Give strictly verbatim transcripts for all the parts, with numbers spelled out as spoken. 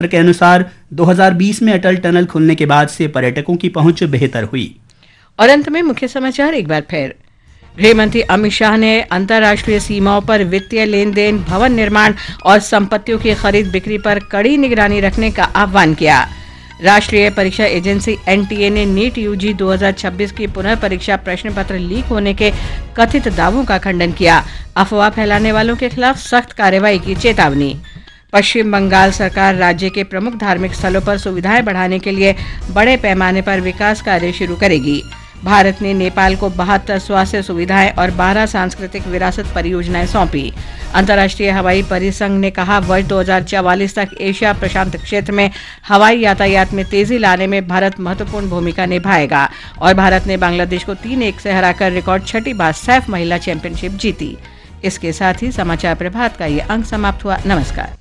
के अनुसार, दो हज़ार बीस में अटल टनल खुलने के बाद से पर्यटकों की पहुंच बेहतर हुई। और अंत में मुख्य समाचार एक बार फिर। गृह मंत्री अमित शाह ने अंतर्राष्ट्रीय सीमाओं पर वित्तीय लेन देन, भवन निर्माण और संपत्तियों की खरीद बिक्री पर कड़ी निगरानी रखने का आह्वान किया। राष्ट्रीय परीक्षा एजेंसी एनटीए ने नीट यूजी दो हज़ार छब्बीस की पुनर्परीक्षा प्रश्न पत्र लीक होने के कथित दावों का खंडन किया। अफवाह फैलाने वालों के खिलाफ सख्त कार्रवाई की चेतावनी। पश्चिम बंगाल सरकार राज्य के प्रमुख धार्मिक स्थलों पर सुविधाएं बढ़ाने के लिए बड़े पैमाने पर विकास कार्य शुरू करेगी। भारत ने नेपाल को बहत्तर स्वास्थ्य सुविधाएं और बारह सांस्कृतिक विरासत परियोजनाएं सौंपी। अंतर्राष्ट्रीय हवाई परिसंघ ने कहा, वर्ष दो हज़ार चवालीस तक एशिया प्रशांत क्षेत्र में हवाई यातायात में तेजी लाने में भारत महत्वपूर्ण भूमिका निभाएगा। और भारत ने बांग्लादेश को तीन एक से हराकर रिकॉर्ड छठी बार सैफ महिला चैंपियनशिप जीती। इसके साथ ही समाचार प्रभात का ये अंक समाप्त हुआ। नमस्कार।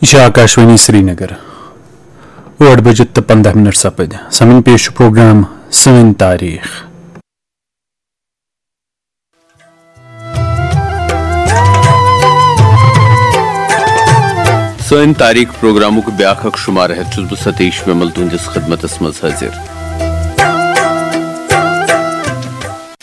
یہِ چھِ آکاشوانی سرینگر۔ ٲٹھ بجہِ تہٕ پنٛداہ منٹ سپٕدۍ۔ سمن پیش چھُ پروگرام سٲنۍ تاریخ۔ سٲنۍ تاریخ پروگرامُک بیاکھ اکھ شمارٕ ہٮ۪تھ چھُس بہٕ ستیش ومل تُہنٛدِس خدمتس منٛز حٲضِر۔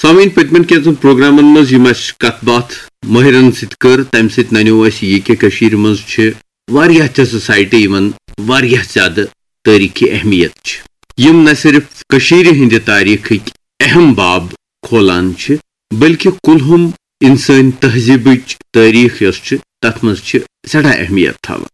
سامعین، پٔتمٮ۪ن کینٛژن پروگرامن منٛز یِم اَسہِ کتھ باتھ مٲہرن سۭتۍ کٔر، تمہِ سۭتۍ ننیو اَسہِ یہِ کہِ کٔشیٖرِ منٛز چھِ واریاہ تِژھٕ سایٹہٕ یِمن واریاہ زیادٕ تٲریٖخی اہمیت چھِ، یِم نہ صرف کٔشیٖرِ ہٕنٛدِ تاریٖخٕکۍ اہم باب کھولان چھِ، بلکہِ کُلہُم انسٲنۍ تہذیٖبٕچ تٲریٖخ یۄس چھِ، تتھ منٛز چھِ سٮ۪ٹھاہ اہمیت تھاوان۔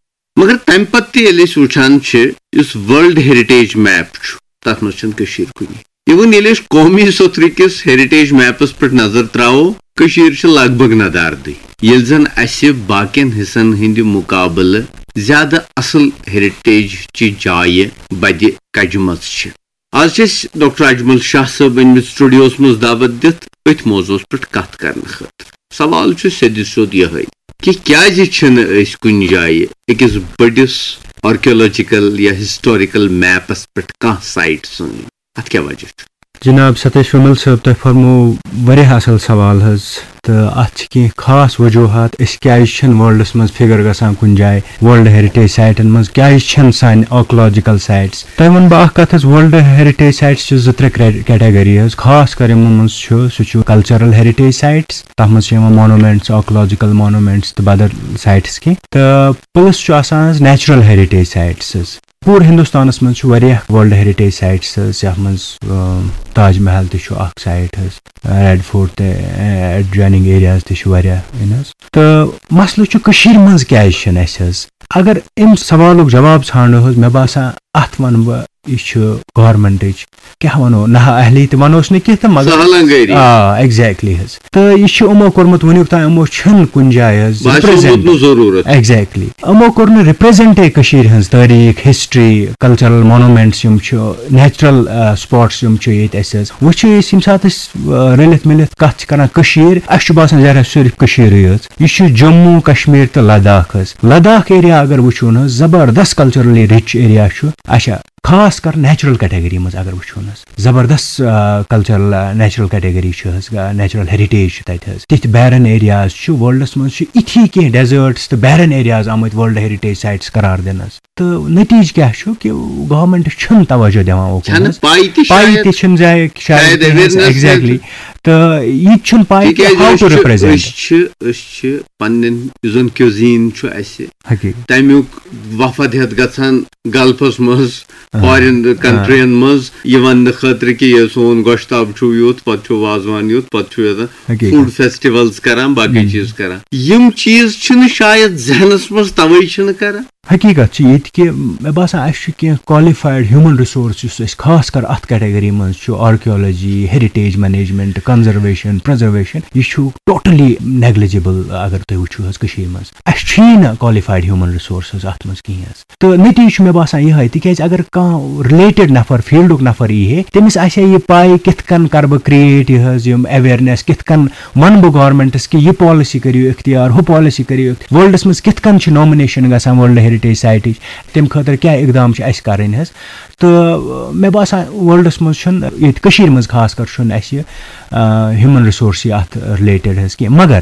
مگر تمہِ پتہٕ تہِ ییٚلہِ أسۍ وٕچھان چھِ، یُس ورلڈ ہیریٹیج میپ چھُ، تتھ منٛز چھنہٕ کٔشیٖر کُنی۔ Even ییٚلہِ أسۍ قومی سوٚتھرٕ کِس ہیریٹیج میپس پٮ۪ٹھ نظر تراوو، کٔشیٖر چھِ لگ بگ نداردٕے، ییٚلہِ زن اسہِ باقین حصن ہٕنٛدِ مقابلہٕ زیادٕ اصل ہیریٹیج چہِ جایہِ بدِ کجمژ چھِ۔ از چھِ أسۍ ڈاکٹر اجمل شاہ صٲب أنمٕتۍ سٹوڈیوس منٛز دعوت دِتھ أتھۍ موضوعس پٮ۪ٹھ کتھ کرنہٕ خٲطرٕ۔ سوال چھُ سیٚدِ سیوٚد یِہوٚے کہِ کیازِ چھِنہٕ أسۍ کُنہِ جایہِ أکِس بٔڑِس آرکیولوجیکل یا ہسٹوریکل میپس پٮ۪ٹھ کانٛہہ سایٹ سٲنۍ؟ اتھ کیٛاہ وجہ چھُ؟ جناب ستیش ومل صٲب، تۄہہِ فرموو واریاہ اصل سوال حظ، تہٕ اتھ چھِ کینٛہہ خاص وجوہات، أسۍ کیازِ چھِنہٕ ورلڈس منٛز فگر گژھان کُنہِ جایہِ، ورلڈ ہیریٹیج سایٹن منٛز کیازِ چھِنہٕ سانہِ آرکیولوجیکل سایٹس۔ تۄہہِ ونہٕ بہٕ اکھ کتھ حظ، ورلڈ ہیریٹیج سایٹس چھِ زٕ ترٛےٚ کرے-، کیٹیگری حظ، خاص کر یِمن منٛز چھُ، سُہ چھُ کلچرل ہیریٹیج سایٹس، تتھ منٛز چھِ یِوان مانومینٹس، آرکیولوجیکل مانومینٹس تہٕ بدل سایٹس کینٛہہ، تہٕ پلس چھُ آسان حظ نیچرل ہیریٹیج سایٹس حظ۔ پوٗرٕ ہِندُستانَس منٛز چھِ واریاہ ورلڈ ہیریٹیج سایٹس حظ، یَتھ منٛز، آ، تاج محل تہِ چھُ اکھ سایٹ حظ، ریڈ فورٹ تہِ، ایڈجویننگ ایریاز تہِ چھِ واریاہ، یِن حظ۔ تہٕ مسلہٕ چھُ کٔشیٖرِ منٛز کیازِ چھِنہٕ اَسہِ حظ؟ اگر اَمہِ سوالُک جواب ژھانڈو حظ، مےٚ باسان اَتھ وَنہٕ بہٕ، یہِ چھُ گورمنٹٕچ، کیٛاہ وَنو، نااہلی تہِ وَنوس نہٕ کینٛہہ تہٕ مگر، سہلنگٲری۔ آ، exactly حظ۔ تہٕ یہِ چھُ یِمو کوٚرمُت، وٕنیُک تام یِمو چھِنہٕ کُنہِ جایہِ حظ باسیومُت represent۔ نہٕ ضروٗرت۔ Exactly۔ یِمو کوٚر نہٕ represent کٔشیٖرِ ہٕنٛز تٲریٖخ، ہسٹری، کلچرل مانومینٹس یِم چھِ، نیچرل، آ، سپاٹس یِم چھِ ییٚتہِ اَسہِ حظ۔ وٕچھو أسۍ ییٚمہِ ساتہٕ أسۍ، آ، رٔلِتھ مِلِتھ کَتھ چھِ کران کٔشیٖر، اَسہِ چھُ باسان ظٲہِر صرف کٔشیٖرٕے یٲژ۔ یہِ چھُ جموں کشمیر تہٕ لداخ حظ۔ لداخ ایریا اگر وٕچھو نہٕ حظ، زبردست کلچرلی رِچ ایریا چھُ۔ اچھا، خاص کر نیچرل کیٹیگری منٛز اگر وٕچھو نہٕ حظ، زبردست، آ، کلچرل، آ، نیچرل کیٹیگری چھِ حظ، آ، نیچرل ہیریٹیج چھِ تَتہِ حظ۔ تِتھۍ بیرن ایریاز چھِ، ورلڈس منٛز چھِ اِتھی کینٛہہ ڈیزٲرٹس تہٕ بیرن ایریاز آمٕتۍ ورلڈ ہیریٹیج سایٹس قرار دِنس۔ تہٕ نتیجہٕ کیٛاہ چھُ کہِ گورمنٹ چھُنہٕ توجہ دِوان اوکُن چھَنہٕ حظ۔ پَے تہِ پَے شاید۔ تہِ چھِنہٕ زِ شاید شاید awareness exactly۔ تہٕ یہِ تہِ چھُنہٕ پَے کہِ تِکیٛازِ how أسۍ to چھِ، represent۔ أسۍ چھِ، أسۍ چھِ پننٮ۪ن یُس زن cuisine چھُ اَسہِ، حقیٖقت۔ تَمیُک وفد ہٮ۪تھ گژھان گلفس منٛز، آ، فارین آ۔ کنٹرین منٛز، یہِ وننہٕ خٲطرٕ کہِ یہِ سون گۄشتاب چھُ یُتھ، پتہٕ چھُ وازوان یُتھ، پتہٕ چھُ یَتھ حقیٖقت۔ Food festivals کران، باقٕے ہم۔ چیٖز کران۔ یِم چیٖز چھِنہٕ شاید ذہنس منٛز توے چھِنہٕ کران۔ حقیٖقت چھِ یہِ تہِ کہِ مےٚ باسان اَسہِ چھُ کینٛہہ qualified human resource یُس اَسہِ خاص کر اَتھ کیٹیگری منٛز چھُ، archaeology, heritage management, conservation, preservation, یہِ چھُ totally negligible اگر تُہۍ وٕچھِو حظ کٔشیٖرِ منٛز۔ اَسہِ چھُیی نہٕ qualified human resources اَتھ منٛز کِہیٖنۍ حظ۔ تہٕ نتیجہٕ چھُ مےٚ باسان یِہوٚے، تِکیٛازِ اگر کانٛہہ related نفر، فیٖلڈُک نفر یی ہے، تٔمِس آسہِ ہے یہِ پَے کِتھ کٔنۍ کَرٕ بہٕ create یہِ حظ، یِم awareness، کِتھ کٔنۍ وَنہٕ بہٕ گورمنٹَس کہِ یہِ پالسی کٔرِو اختیار، ہُہ پالسی کٔرِو اخت-، ورلڈَس منٛز کِتھ کٔنۍ چھِ نامنیشن گژھان ورلڈ ہیریٹیج ہیرٹیج سائٹٕچ، تَمہِ خٲطرٕ کیٛاہ اقدام چھِ اَسہِ کَرٕنۍ حظ؟ تہٕ مےٚ باسان ورلڈَس منٛز چھُنہٕ، ییٚتہِ کٔشیٖرِ منٛز خاص کر چھُنہٕ اَسہِ، آ، ہیوٗمَن رِسورسٕے اَتھ رِلیٹڈ حظ کینٛہہ، مگر